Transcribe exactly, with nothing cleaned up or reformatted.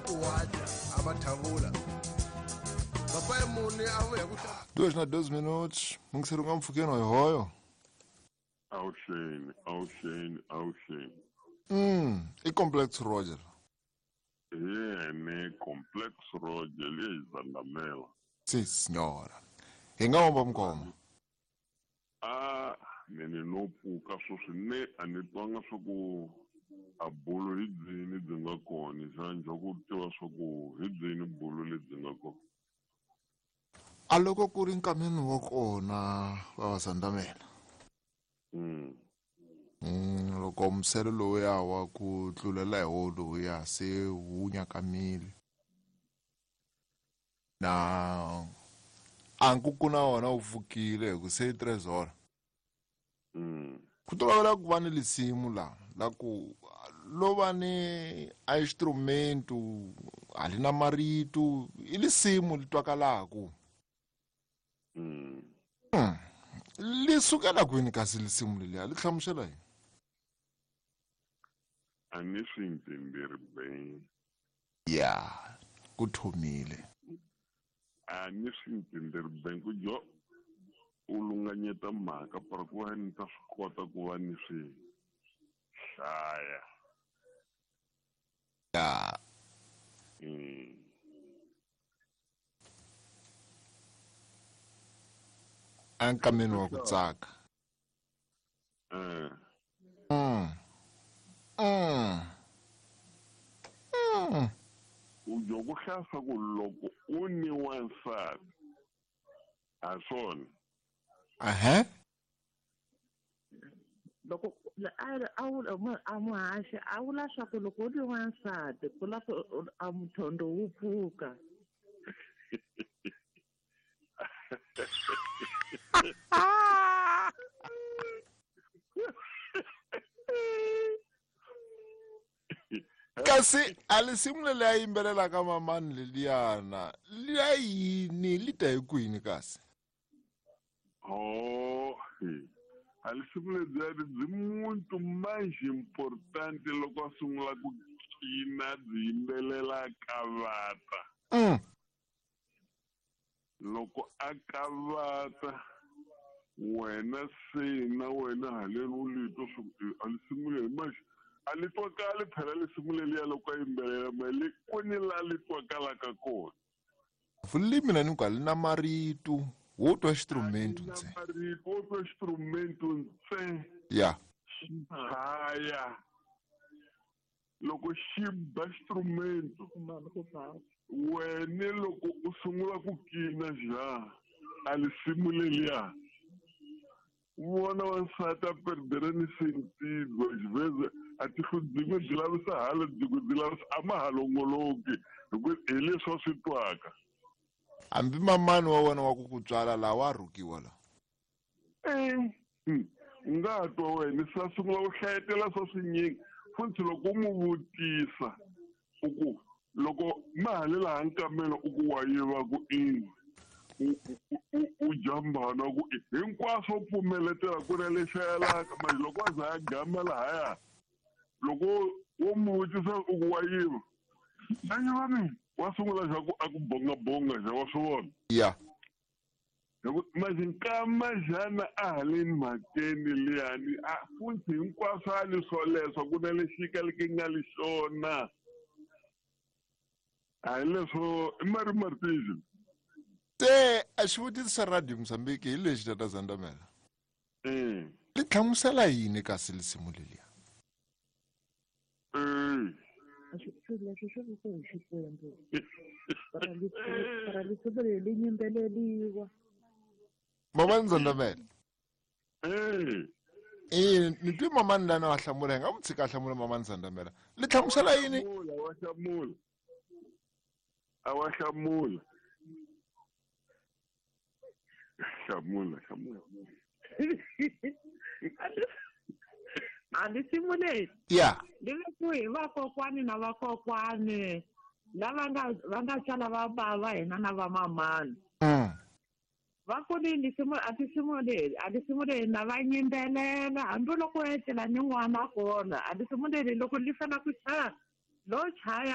Ku wadya a va thavula papai muni a vuya ku Duas na doze minutos. Mungiseri nga mpfhukeni hoyohoyo. Awuxeni, awuxeni, awuxeni. Mm, i Complex Roger. Hi yene Complex Roger leyi Zandamela. Si signora. Hi nga vamba mukoma. A mene no pfuka sweswi ne a ni twanga swa ku a bulo hi byini byi nga kona xa njhe ku tiva swa ku hi byini bulo lebyi nga kona. A loko ku ri nkameni wa kona va va Zandamela. Mm. Mm, loko muselo lowuya wa ku tlulela hi wo lowuya se wu nyakamile. Na a nkuku na wona wu pfukile hi ku se i tres horas. Mm. Ku tolovela ku va ni lisimu la la ku lo va ni a instrumento a li na marito i lisimu li twakalaku. Mm. Mm. Li sukela kwini kasi lisimu leliya li hlamusela yini? A ni swi ntenderi ben. Ya, ku thomile. A ni swi ntenderi ben ku jo u lunganyeta mhaka para ku va ni ta swi kota ku va ni swi hlaya. Ya. Mm. A nkameni wa ku tsaka. Eh. Mm. Mm. Mm. U jo ku hlasa ku loko u ni wansati a swona. Ahã. Loko a a wula a muhaxi a vula swa ku loko u ri wansati ku la ku a muthondo wu pfuka. Kasi a lisimu leri a yimbelelaka mamani leliyana liya yini li ta hi kwini kasi? Oh, a lisimu lediyani byi muntu mais importante loko a sungula ku cina byi yimbelela kavata. Mm. Loko a kavata wena se na wena haleni u li twa swa ku a lisimu leri manje a li twakali phela lisimu leliya loko a yimbelela ma li kwini la li twakalaka kona. Vulimi na ni ku a li na marito wo twa instrumento ntsena. Marito wo twa instrumento ntsena. Ya. Xi chaya. Loko xi ba instrumento wena loko u sungula ku kina ja a lisimu leliya vona wansati a perdere ni sentido às vezes a tihlo byin'we byi lavisa hala byin'we byi lavisa a ma ha longoloki hi ku hi leswi a swi twaka. Hambi mamani wa wena wa ku ku tswala laha wa rhukiwa la. Eh, u nga twa wena se a sungula ku hlayetela swa swinyingi futhi loko u n'wi vutisa u ku loko ma ha le laha nkamela u ku wa yiva ku ini u jambana ku hinkwaswo pfumeletela ku ri lexi yelaka manje loko a za a gama lahaya loko wo n'wi vutisa u ku wa yiva a yiva mina wa sungula xa ku a ku bongabonga xa wa swi vona. Ya. Manje nkama xana a haleni mhakeni liyani a futhi hinkwaswo a li swoleswo ku na lexi kaleke nga li xona a hi leswo i Mari Martins. Se a xivutiso xa Radio Mozambique hi lexi tata Zandamela. Mm. Li hlamusela yini kasi lisimu leliya? Mm. Swilo leswi swi ri ku hi Xikwembu. Para lisimu leri li yimbeleliwa. Mamani Zandamela. Eh. Eh, ni twi mamani lana wa hlamula hi nga n'wi tshika a hlamula mamani Zandamela. Li hlamusela yini? Wa hlamula. A wa hlamula. Hlamula, hlamula. A lisimu leri. Ya. Li vekiwe hi vakokwani na vakokwani lava nga va nga tswala va bava hina na vamamani. Mm. Va ku ni lisimu a lisimu leri a lisimu leri na va yimbelela hambiloko u etlela ni n'wana kona a lisimu leri loko li fana ku chaya lo chaya.